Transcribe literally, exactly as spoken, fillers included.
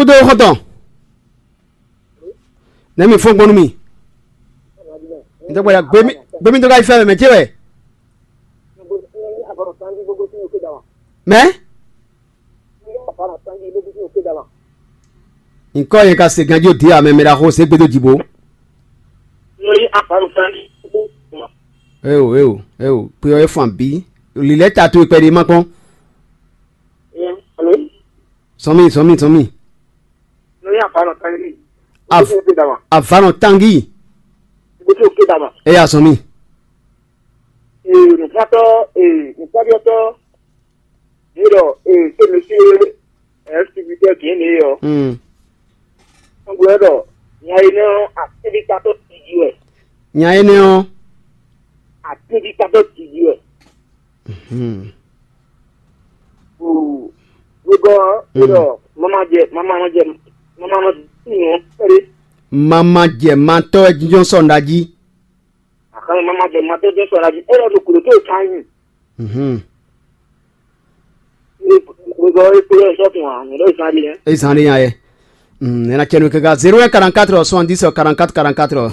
Kúdó xɔtɔn. Nɛ̌ mi fɔ́n gbɔn nú mì? Ntɔ́gbɛ́dá, gbémí gbémí tó ka yi fɛ́ mɛ mɛ ce wɛ? Mɛ? Nyǐkɔ yẹn ka se ganjí ó dǐ ǎ, mɛ mɛ ɖaxó se gbé dó jǐ bó. Éo, éo, éo, kpe ɔ́ é fɔn abǐ? Lǐlɛ́ ta towe kpɛɖé ma kpɔ́n. Sɔn mì, sɔn mì, sɔn mì. Av- Avanɔ tangi. Éyá sɔn mì. Nǔkpɔ́tɔ́, nǔkpɔ́byɔ́tɔ́, yě ɖɔ, ee, xémɛ sín ɛsibítɛ gěn lě ɔ́, Hmm. Gbɛ́ ɖɔ nya énɛ́ ɔ́, atínɖíkatɔ́ tiji wɛ. Nya énɛ́ ɔ́. Atínɖíkatɔ́ tiji wɛ. Hmm. Wegɔ́ ɔ́, é ɖɔ mamajɛ mamanɔjɛ mamanɔjɛ nǔ ɔ́ kpɛɖé. Mamajɛ matɔ́ wɛ jínjɔ́n sɔ́ nɖa jí. Axɔ́ e ma ma jɛ ma tɔ́ jɛ́n sɔ ná jí, é lɔ ɖo gǔdo tó e ka nyi. Mhm. Gbogbo e kplɔ́ ɛ sɔ́ tun ǎ, mǐ ɖo zan ɖi hɛn. E zan ɖe nya yɛ. Mm, ena cɛnu kaka zéro un quarante-quatre soixante-dix quarante-quatre quarante-quatre.